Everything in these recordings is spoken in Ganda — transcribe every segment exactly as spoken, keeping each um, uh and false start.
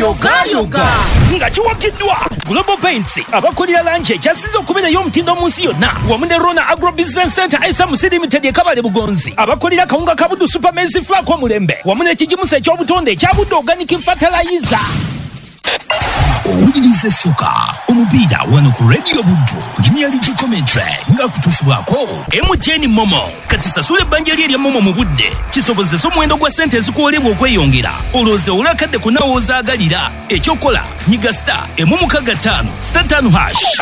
Yogayoga Nga kiwagiddwa Global Paints, abakolera langi ekyasinze okubeera ey'omutindo mu nsi yonna, wamu ne Rona Agro Business Center S M C Limited e Kabale Bugonzi, abakolera kawunga ka Buddu Super Maize Flour omulembe, wamu n'ekigimusa eky'obutonde ekya Buddu Organic Fertilizer. Owuliriza essuka omupiira wano ku Radio Buddu Premier League commentary nga kutuusibwako M T N Momo. Kati sasula ebbanja lye erya Momo mu budde kisobozese omuwendo gwa ssente ezikuwerebwa okweyongera, olowooze olwakadde ku naawe ozaagalira. Ekyokola nyiga star emu mukaaga ttaano star ttaano hash.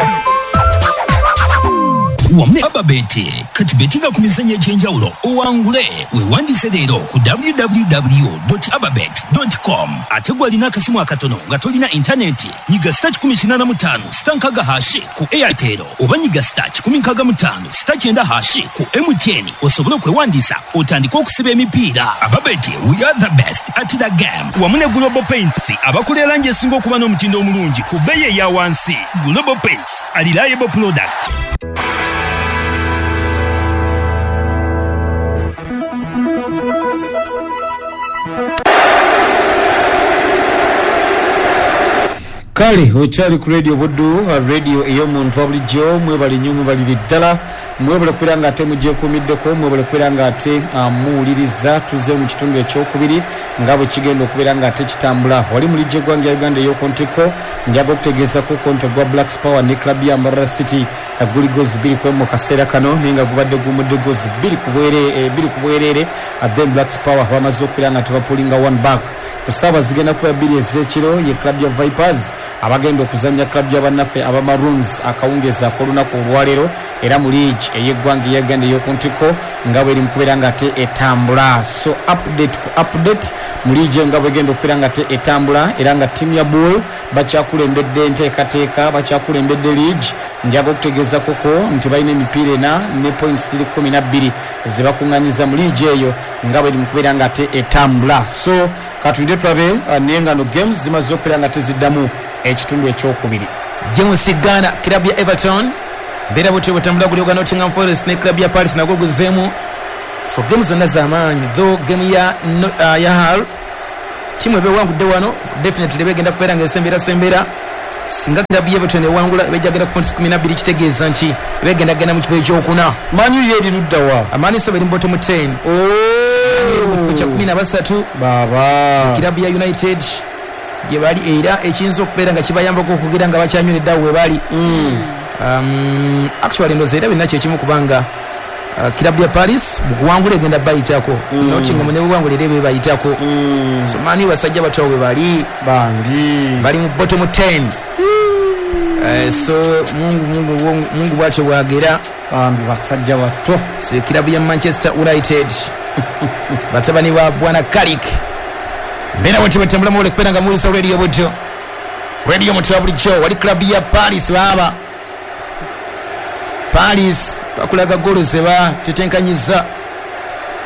Wamu ne Ababeti, kati betinga ku mizannyo egy'enjawulo owangule. Weewandiise leero ku w w w dot ababet dot com. Ate gwe alina akasimu akatono nga tolina intaneti, nyiga star kikumi kinaana mu ttaano star nkaaga hashi ku Airtel, oba nyiga star kikumi nkaaga mu ttaano star kyenda hashi ku M T N osobole okwewandiisa otandike okusiba emipiira. Ababeti, we are the best at the game. Wamu ne Global Paints, abakolera langi esinga okuba n'omutindo omulungi ku bbeeyi eya wansi. Global Paints, a reliable product. Kale okyali ku Radio Buddu, radio ey'omuntu wa bulijjo. Mwebale nnyo, mwebalire ddala, mwebale kubeera nga ate mugyekuumiddeko, mwebale kubeera nga ate muwuliriza. Tuzze mu kitundu ekyokubiri nga bwe kigenda okubeera nga ate kitambula. Wali mu liigi y'eggwanga ya Uganda ey'oku ntikko, njaga okutegeezako konto gwa Black Power ne club ya Mbarara City guli goals bbiri ku emu mu kaseera kano, naye nga gubadde gumudde goals bbiri ku bwerere, bbiri ku bwereere. Then Black Power bamaze okubeera nga tebapulinga one back. Ku ssaawa zigenda kuba bbiri ez'ekiro ye club ya Vipers abagenda okuzannya club ya bannaffe aba Maroons akawungeezi ak'olunaku olwaleero, era mu liigi ey'eggwanga eya Uganda ey'oku ntikko nga bweri mu kubeera nga ate etambula. So update ku update mu liigi eyo nga bwegenda okubeera nga ate etambula, era nga ttiimu ya Bull bakyakulembedde enteekateeka, bakyakulembedde liigi. Njaga okutegeeza koko nti balina emipiira ena ne points ziri kkumi na bbiri ze bakuŋŋaanyiza mu liigi eyo nga bweri mu kubeera nga ate etambula. So katulinde tulabe, naye nga no games zimaze okubeera nga teziddamu ekitundu ekyokubiri. James Ghana, club ya Everton mbeera butyo bwetambula guli ogwa Nottingham Forest ne club ya Paris nagwo guzeemu. So game zonna z'amaanyi, though game ya, uh, ya Hull tiimu ebewangudde wano definitely begenda kubeera nga esembera sembera. Singa club ya Everton ewangula ebejagenda ku points kumi na bbiri, kitegeeza nti begenda genda mu kifo ekyokuna. Man U yeri ludda wa? Amani so beri mu bottom ten. Oh, mu kifo kya kumi na basatu. Baba club ya United gye bali, era ekiyinza okubeera nga kibayambako okugira nga bakyanyweredde awo we bali. Mm. Um, actually ndowooza era byonna kyekimu kubanga uh, club ya Paris bukuwangula egenda bayitako, Mm. Nottingham ne buwangula era bebayitako. Mm. So mani basajja bato we bali bambi bali mu bottom ten. Uh, so Mungu Mungu Mungu, Mungu bwatyo bwagera bambi basajja bato. So club ya Manchester United batabani ba Bwana Carrick mbeera bwetyo bwetambula muwule kubeera nga muwulisa Radio Buddu, radio mutu wa bulijjo. Wali club ya Paris baaba Paris bakulaga goolo ze batetenkanyiza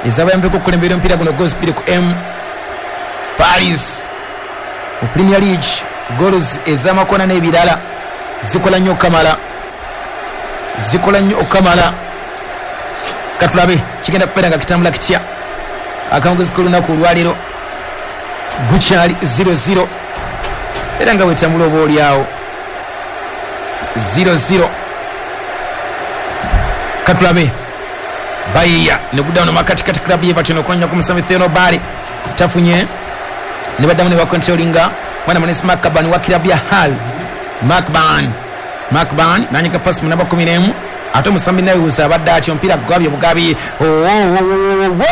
ezabayambeko okukulembera omupiira guno goals bbiri ku M. Paris mu Premier League goals ez'amakona n'ebirala zikola nnyo okukamala, zikola nnyo okukamala. Katulabe kigenda kubeera nga kitambula kitya akawungezi k'olunaku olwaleero. Gukyali zero zero era nga bwetambula oba oliawo zero zero. Katulabe bayiya ne guddawo makatikati club ya Everton okunoonya ku musambi Theodore Bale tafunye, ne baddamu ne bakontrolinga mwana munesi Mark Ban wa club ya Hull. Mark Ban, Mark Ban nanyika pasi mu namba kumi n'emu, ate omusambi Niles abadde atyo omupiira gugabye bugabi. Oh, oh, oh, oh,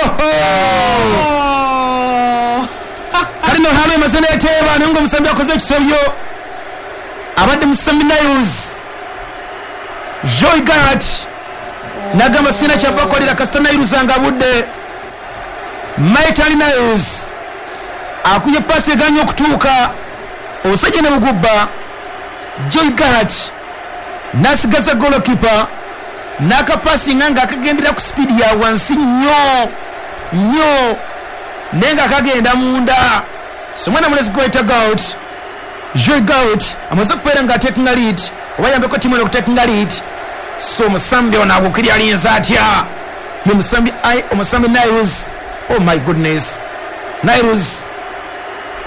oh. Kali no Hull emaze n'eteeba, naye ng'omusambi akoze ekisobyo abadde musambi Niles Joy Gart nagamba sina kyabakolera kasita Niles nga budde. Maitland Niles akubye pasi eganye okutuuka obusajja ne bugubba. Joy Gart n'asigaza goalkeeper n'akapasinga nga akagendera ku sipiidi ya wansi nnyo nnyo, naye nga akagenda munda. So mwana mulezi gwayita Gart, Joy Gart amaze okubeera nga atekinga lead oba yambeko ttiimu eno okutekinga lead. So omusambi ono agukiri alinza atya? Ye musambi omusambi Niles. Oh my goodness, Niles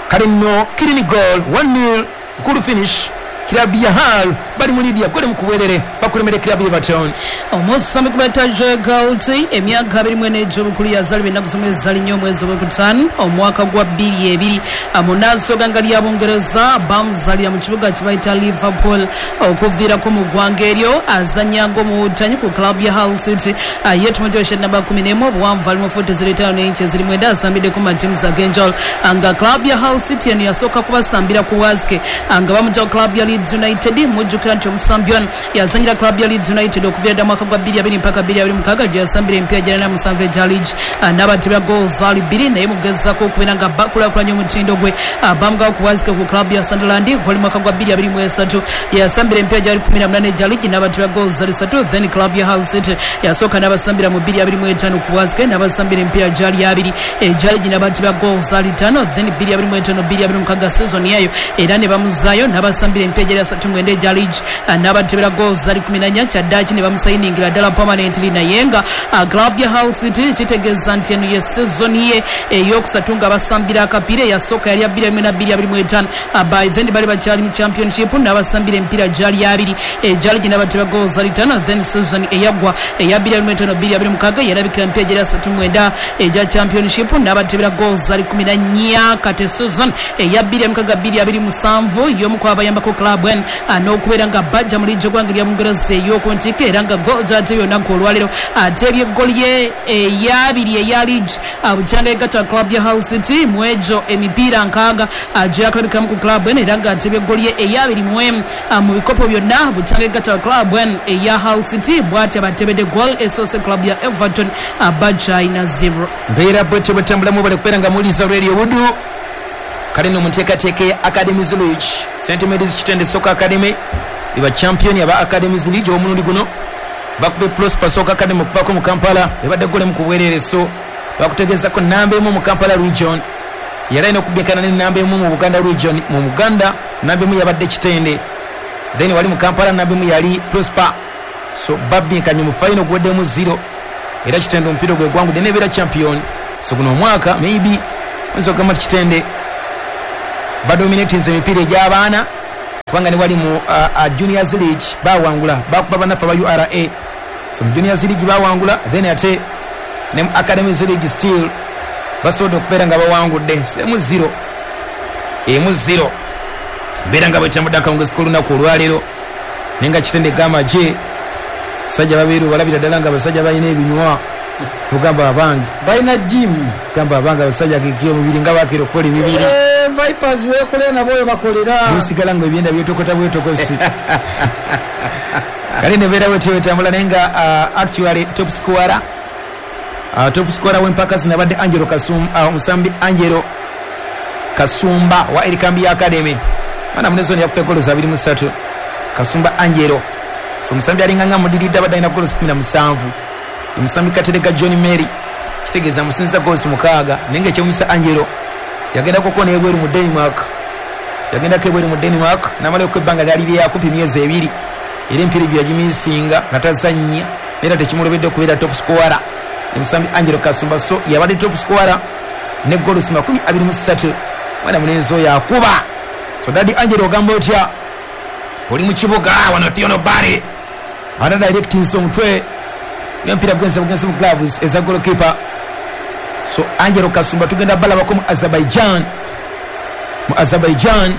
Kale nno clean goal one nil good finish. Kilabu ya Hull bali mu lead ya goli mu kubwerere bakulemere kilabu ya Everton. Omusambi kubata Joe Galt emyaka abiri mu ena egy'obukulu yazaalibwa ennaku z'omwezi zali nnyo omwezi ogwokutaano omwaka gwa bbiri ebiri munansoga nga lya Bungereza bamuzaalira mu kibuga kye bayita Liverpool okuviirako mu ggwanga eryo azannya ng'omuwutanyi ku club ya Hull City. Ye tumujoshe namba kumi n'emu obuwanvu ali mu futi ziri ttaano n'inchi eziri mwenda asambiddeko mu ttiimu z'ag'enjawulo nga club ya Hull City eno yasooka kubasambira ku Waske nga bamugya ku club ya Leeds United. Mujjukira nti omusambi ono yazannyira club ya Leeds United okuviira ddala mwaka gwa bbiri abiri mpaka bbiri abiri mukaaga gye yasambira emipiira gy'alina musanvu egya league n'abatebya goals zaali bbiri naye mugezaako okubeera nga bakulaakulanya omutindo gwe bamugawo ku Waske ku club ya Sunderland gwali mwaka gwa bbiri abiri mu esatu yasambira emipiira gyali kumi na munaana egya league n'abatebya goals zaali ssatu. Then club ya Hull City yasooka n'abasambira mu bbiri abiri mu etaano ku Waske n'abasambira emipiira gyali abiri egya league n'abatebya goals zaali ttaano. Then bbiri abiri mu etaano bbiri abiri mu mukaaga season yayo era ne bamuzaayo n'abasambira emipiira gyali asatu mwenda egya league n'abatebera goals zaali kumi na nnya kyaddaaki ne bamusayiningira ddala permanently. Naye nga club ya Hull City kitegeeza nti eno ye season ye eyokusatu nga basambira akapiira eyasooka yali ya bbiri abiri na bbiri abiri mu etaano by then bali bakyali mu championship n'abasambira emipiira gyali abiri egya league n'abatebera goals zaali ttaano. Then season eyaggwa eya bbiri abiri mu etaano bbiri abiri mu mukaaga yalabikira emipiira gyali asatu mwenda egya championship n'abatebera goals zaali kumi na nnya. Kati season eya bbiri mukaaga bbiri abiri musanvu y'omu ku abayambako club eno n'okubeera nga bajja mu liigi y'eggwanga lya Bungereza ey'oku ntikko era nga goal gy'atebye olunaku olwaleero atebye eggoli ye ey'abiri eya league bukyanga egatta club ya Hull City mu egyo emipiira nkaaga gye yakalabikamu ku club eno era nga atebye eggoli ye ey'abiri mu emu mu bikopo byonna bukyanga egatta club eno eya Hull City bw'atyo abatebedde goal esoose club ya Everton bakyalina zero. Mbeera bwetyo bwetambulamu bale kubeera nga muwuliriza Radio Buddu. Kale nno mu nteekateeka ya Academies League Saint Mary's Kitende Soccer Academy eba champion aba Academies League omulundi guno bakube Prosper Soccer Academy okuvako mu Kampala ebadde gole mu kubwerere so bakutegeezako namba emu mu Kampala region yali alina okubinkana ne namba emu mu Buganda region. Mu Buganda namba emu yabadde Kitende, then wali mu Kampala namba emu yali Prosper, so babinkanye mu final guweddemu zero era Kitende omupiira gwe gwangudde nebeera champion. So guno omwaka maybe oyinza okugamba nti Kitende badominatinze emipiira egy'abaana kubanga ne wali mu uh, uh, Juniors League bawangula bakuba bannaffe aba U R A. So mu Juniors League bawangula then ate ne mu Academies League still basobodde okubeera nga bawangudde emu zero emu zero mbeera nga bwetambudde akawungezi k'olunaku olwaleero naye nga Kitende gamba gye basajja babeeru balabira ddala nga abasajja balina ebinywa ogamba abange balina gym gamba abange abasajja kiki omubiri nga bakira okukola emibiri Vipers wekolera nabo bakolera musigala nga ebyenda byetokota bwetokosi. Kale nebeera bwetyo etambula naye nga uh, actually top scorer uh, top scorer w'empaka zino abadde Angelo Kasumba, omusambi uh, Angelo Kasumba wa Erikambi Academy mwana munezoni yakutte goals abiri mu ssatu. Kasumba Angelo so omusambi alinga nga mudiridde abadde alina goals kumi na musanvu. Omusambi Katerega John Mary kitegeeza musinza goals mukaaga naye nga ekyomisa Angelo yagendako ko n'ebweru mu Denmark yagendako ebweru mu Denmark n'amalayo ebbanga lyali lyakumpi emyezi ebiri era emipiira egyo yagimisinga nga tazannya era tekimulobedde okubeera top scorer. Omusambi Angelo Kasumba so yabadde top scorer ne goals makumi abiri mu ssatu mwana munenzi oyo akuba. So Daddy Angelo ogamba otya oli mu kibuga wano Theono Barry ana directins omutwe n'omupiira gwenze bugenze mu gloves eza goalkeeper. So Angelo Kasumba tugenda balabako mu Azerbaijan mu Azerbaijan.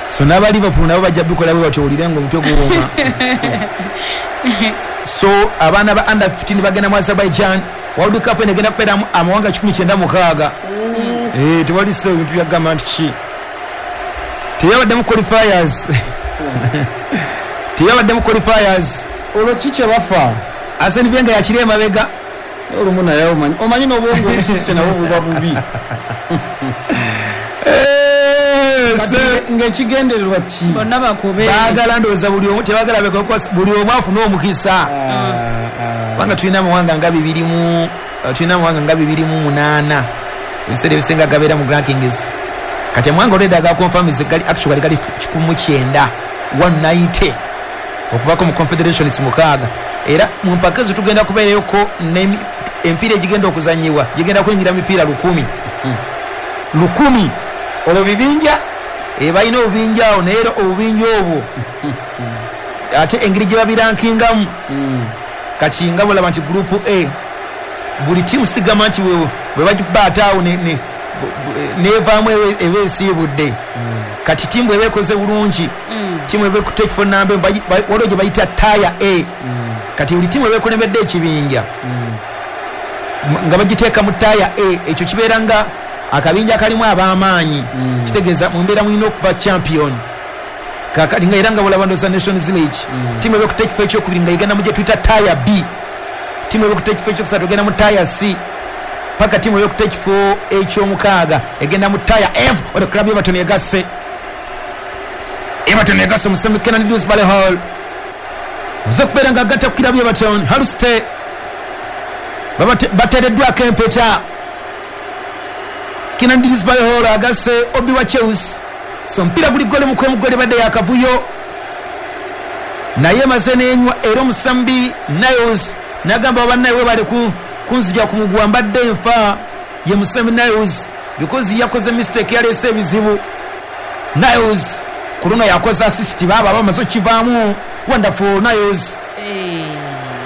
So n'aba Liverpool nabo bajja bikola bwe batyo owulire ng'omutwe guwooma. So abaana ba under fifteen bagenda mu Azerbaijan World Cup eno egenda kubeeramu amawanga kikumi kyenda mukaaga. Eh, tewali so ebintu byagamba nti ki teyabaddemu qualifiers teyabaddemu qualifiers olwo ki kye bafa Arsene Wenger yakiri emabega olumu naye omanyi omanyi n'obwongo obususse nabwo buba bubi. Ng'ekigendererwa ki bonna bakube baagala ndowooza buli omu tebaagala bekokosa buli omu afune omukisa kubanga tulina amawanga nga bibiri mu tulina amawanga nga bibiri mu munaana ebiseera ebisinga gabeera mu rankings. Kati amawanga already agakonfamize gali actually gali kikumi mu kyenda one ninety okubako mu confederations mukaaga era mu mpaka ezo tugenda kubeerayoko emipiira egigenda okuzanyibwa gigenda kuyingira mipiira lukumi lukumi Olwo bibinja e balina obubinja awo, naye era obubinja obwo ate engeri gye babirankingamu Mm. kati nga bolaba nti group A buli tiimu sigamba nti bwe bwe bagibaata awo ne- ne- bu- nevaamu ebe- eba esiibudde. Kati tiimu bweba ekoze bulungi, tiimu eba ekutte ekifo namba emu, bayi- ba- waliwo gye bayita tier A. Kati buli tiimu eba ekulembedde ekibinja m- nga bagiteeka mu tier A, ekyo kibeera nga akabinja kalimu ab'amaanyi, kitegeeza mu mbeera mulina okuba champion. Kakati nga era nga bolaba ndoza Nations League, tiimu eba ekutte ekifo ekyokubiri nga egenda mu gye tuyita tier B, tiimu eba ekutte ekifo ekyokusatu egenda mu tier C, paka tiimu eba ekutte ekifo ekyomukaaga egenda mu tier F. Olwo club Everton egasse, Everton egasse omusambi Kiernan Dewsbury Hall oze okubeera nga agatta ku club Everton. Haluste bateereddwako empeta. Kiernan Dewsbury Hall agasse Obi wa Chelsea. So omupiira guli gole mukwemu, gole badde yakavuyo naye maze nenywa, era omusambi Niles nagamba bannaye webale ku kunzija ku muguwa, mbadde nfa. Ye musambi Niles because yakoze mistake yaleese ebizibu. Niles ku luno yakoze assist, baaba bamaze okivaamu. Wonderful Niles.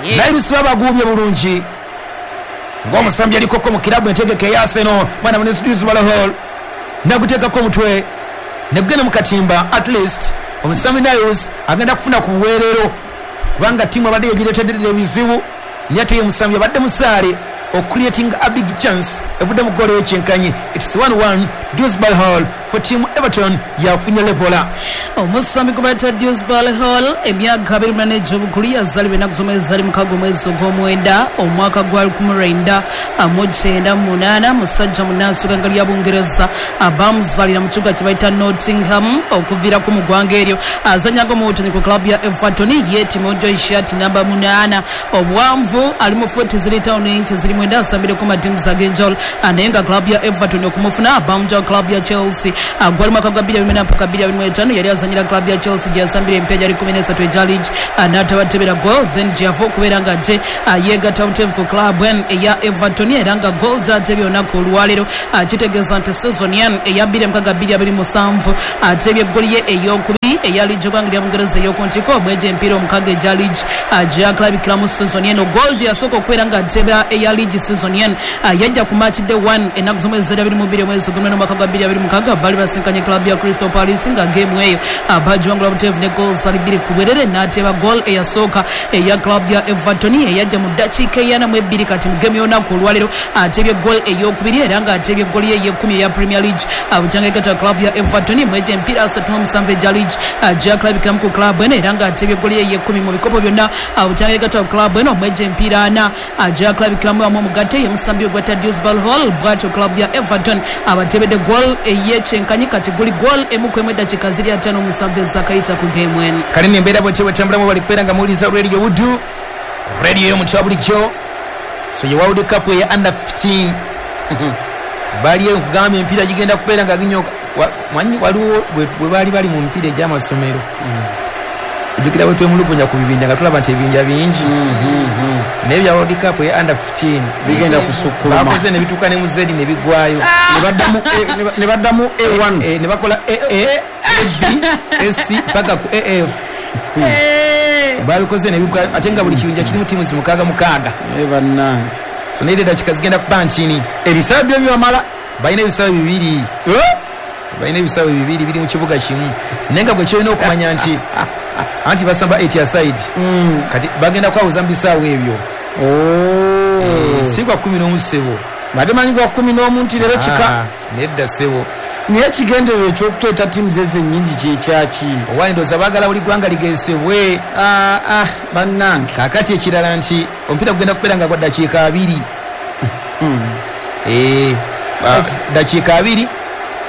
Niles babaguubye bulungi ng'omusambi alikoko mu kirabu entegeka eya Arsenal. Mwana munenzi Dewsbury Hall naguteekako omutwe negugenda mu katimba. At least omusambi Niles agenda kufuna ku buweerero kubanga ttiimu abadde yegireetedde ebizibu, naye ate ye omusambi abadde musaale ocreating a big chance evudde mu goolo ekyenkanyi. It's one one. Dewsbury Hall for team Everton yafunye leveller. Omusambi gwe bayita Dewsbury Hall, emyaka abiri munana egy'obukulu, yazaalibwa ennaku z'omwezi zali mukaaga omwezi ogw'omwenda omwaka gwa lukumi lwenda mu kyenda mu munaana, musajja munnansi w'eggwanga lya Bungereza, bamuzaalira mu kibuga kye bayita Nottingham. Okuviirako mu ggwanga eryo azannyanga omuwutanyi ku club ya Everton, yeetimojo shirt namba munaana, obuwanvu ali mu futi ziri tawuni inchi ziri mwenda, asambireko matiimu ag'enjawulo, naye nga club ya Everton okumufuna bamugya club ya Chelsea. Gwali mwaka gwa bbiri abiri mpaka bbiri abiri mu etaano, yali azanyira club ya Chelsea gye yasambira empya gyali kumi n'esatu egya league n'atabatebera goal, then gyeyava okubeera nga ate yeegatta buteevu ku club eya Everton, era nga goal gyatebye olunaku olwaleero kitegeeza nti season eya bbiri mukaaga bbiri abiri musanvu atebye eggoli ye eyokubiri eya liigi egwanga lya Bungereza ey'okuntiko omwejo empiira omukaaga egya liigi gyakulabikiramu season eno. Goal gye yasooka okubeera nga ateba eya liigi season eno yajja ku match day one ennaku z'omwezi zeri abiri mu bbiri omwezi ogw'omunana omwaka gwa bbiri abiri mukaaga, baali basinkanye club ya Crystal Palace, nga game eyo bagiwangula buteevu ne goals ali bbiri ku bwerere, n'ateba goal eyasooka eya club ya Everton eyajja mu ddakiika eyana mu ebbiri. Kati mu game y'olunaku olwaleero atebye goal eyokubiri, era nga atebye goal ye ey'ekkumi eya Premier League bukyanga egatta club ya Everton mwejo empiira asatu mu musanvu egya league gyakulabikiramu ku club eno, era nga atebye goal ye ey'ekkumi mu bikopo byonna bukyanga egatta club eno mwejo empiira ana gyakulabikiramu wamu omugatte ye musambi ogwetta Dewsbury Hall. Bwatyo club ya Everton abatebedde goal ey'ekyenkanyi, kati guli goal emu ku emu eddakiika ziri ataano musanvu ezakayita ku game eno. Kale nembeera bwetyo bwetambulamu, bali kubeera nga muwuliriza Radio Buddu, radio y'omuntu wa bulijjo. So ye World Cup eya under fifteen bali nkugamba emipiira gigenda kubeera nga ginyoka. Manyi waliwo bwe baali bali mu mipiira egy'amasomero, ojjukira bwe twemulugunya ku bibinja nga tulaba nti ebibinja bingi, naye bya World Cup eya under fifteen bigenda kusukkuluma. Bakoze ne bituuka ne mu Z ne biggwayo. Ne baddamu A one. Ne bakola A A, A B, A C paka ku A F, babikoze ne biggwayo, ate nga buli kibinja kirimu tiimu mukaaga mukaaga. Bannange. So naye eddakiika zigenda kuba ntini. Ebisaawe byo bibamala. Balina ebisaawe bibiri, balina ebisaawe bibiri biri mu kibuga kimu, naye nga gwe kyolina okumanya nti anti basamba eight aside, kati bagenda kwawuza mu bisaawe ebyo. Si gwa kumi n'omu ssebo. Badde manyi gwa kumi n'omu nti leero kika. Nedda ssebo. Naye ekigendererwa ekyokuteeta ttiimu zeze ennyingi kyekyaki? Owa ndowooza baagala buli ggwanga ligezesebwe. Bannange. Kaakati ekirala nti omupiira gugenda kubeera nga gwa ddakiika abiri, ddakiika abiri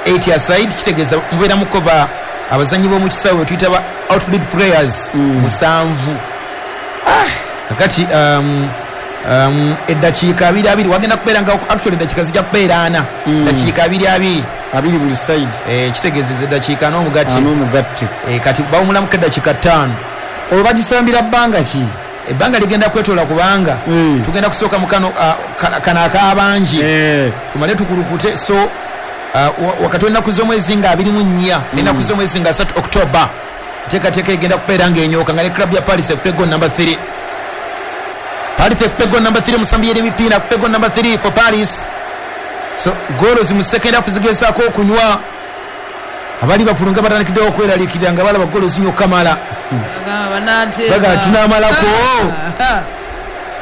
eight aside, kitegeeza mubeera mukoba abazanyi b'omu kisaawe tuyita ba outfield players musanvu. Kakati eddakiika abiri abiri wagenda kubeera nga actually eddakiika zijja kubeera ana, ddakiika abiri abiri. Abiri buli side. Kitegeeza eddakiika n'omugatte. N'omugatte. Kati bawumulamuko eddakiika ttaano. Olwo bagisambira bbanga ki? Ebbanga ligenda kwetoola kubanga tugenda kusooka mu kano kano ak'abangi tumale tukulukute. So uh, wakati w'ennaku z'omwezi nga abiri mu nnya n'ennaku z'omwezi nga asatu October nteekateeka egenda kubeera ng'enyooka nga ne club ya Paris ekupe goal number three. Paris ekupe goal number three, musambi yeri emipiira akupe goal number three for Paris. So goals mu second half zigezaako okunywa abali Liverpool nga batandikiddewo okweraliikirira nga balaba goals zinyo kamala baga tunaamalako.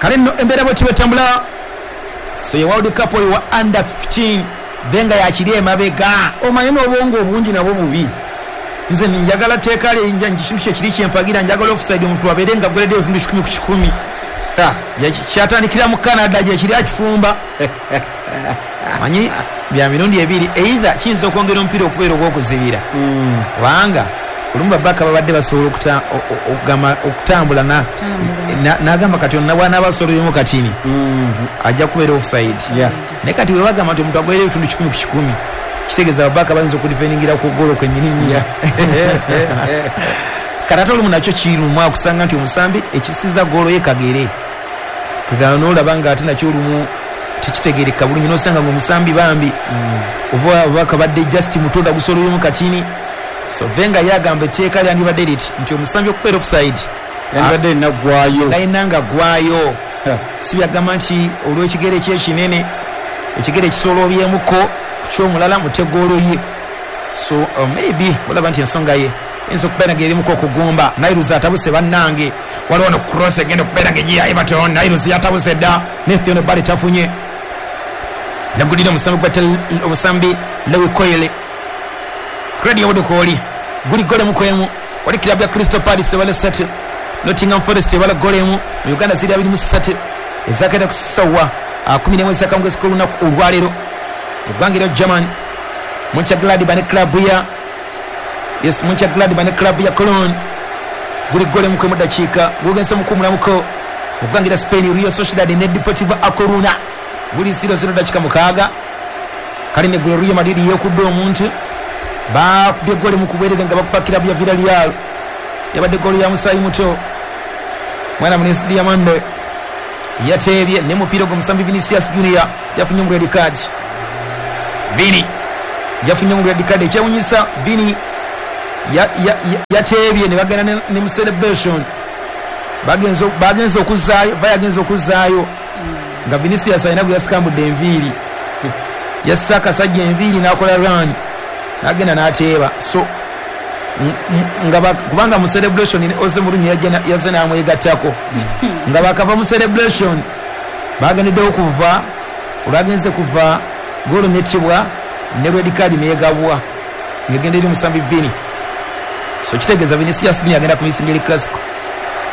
Kale nno embeera bwe tibetambula. So ye World Cup oyo wa under fifteen Venga yakiri emabega. Omanyi n'obwongo obungi nabwo bubi. Nze njagala teeka kintu kyekiri kyempagira, njagala offside omuntu abeere nga aguleddeyo ebitundu kikumi ku kikumi. Kyatandikira mu Canada gyekiri akifumba. Manyi bya mirundi ebiri, either kiyinza okwongera omupiira okubeera ogw'okuzibira, kubanga olumu babaka babadde basobola okutambula n'agamba kati ono bw'anaaba asololemu katini ajja kubeera offside. Naye kati bwe bagamba nti omuntu agolera ebitundu kikumi ku kikumi, kitegeeza babaka bayinza okudifendingira ku ggoolo kwennyini nnyini. Kati ate olumu nakyo kiruma okusanga nti omusambi ekisiza ggoolo ye kagere, kagala n'olaba nga ate nakyo olumu tekitegeereka bulungi, n'osanga ng'omusambi bambi oba obubaka badde just mutonda gusololemu katini. So Venga yagamba etteeka lyandibadde liti nti omusambi okubeera offside yandibadde erina ggwayo, alina nga ggwayo. Si byagamba nti olw'ekigere kye ekinene ekigere kisolobyemuko ku ky'omulala mutegoolo ye. So uh, maybe olaba nti ensonga ye eyinza okubeera ng'erimuko okugumba. Nairuzi atabuse bannange, waliwo no cross egenda okubeera ng'egiya Everton. Nairuzi yatabuse dda ne Theon Barry tafunye. Nagulira omusambi gwa omusambi Lewi Coyle Radio Budukooli guli gole mukwemu wali club ya Crystal Palace ebala ssatu, Nottingham Forest ebala gole emu. Mu Uganda ziri abiri mu ssatu ezakenda ku ssaawa kumi n'emu ez'akawungeezi k'olunaku olwaleero. Eggwanga erya German, Mönchengladbach ne club ya yes Mönchengladbach ne club ya Cologne guli gole mukwemu dakiika gugenze mukuumulamuko. Eggwanga erya Spain, Real Sociedad ne Deportivo A Coruna guli zero zero dakiika mukaaga. Kale ne golo Real Madrid yeekudde omuntu bakubye goli mu kubwerere nga bakuba club ya Villarreal. Yabadde goli ya musaayi muto mwana Munisi Diamande yateebye ne mupiira gw'omusambi Vinicius Junior yafunye mu red card. Vini yafunye mu red card. Ekyewunyisa Vini yateebye ne bagenda ne mu celebration, bagenze bagenze okuzzaayo bayagenze okuzzaayo nga Vinicius alina gwe yasikambudde enviiri, yassa akasajja enviiri n'akola run nagenda n'ateeba. So nga kubanga mu celebration Jose Mourinho yazze n'amwegattako nga bakava mu celebration bagendeddewo kuva olwagenze kuva goolo nettibwa ne red card neegabwa ng'egenda eri omusambi Vini. So kitegeeza Vinicius Junior agenda kumisinga eri Clasico.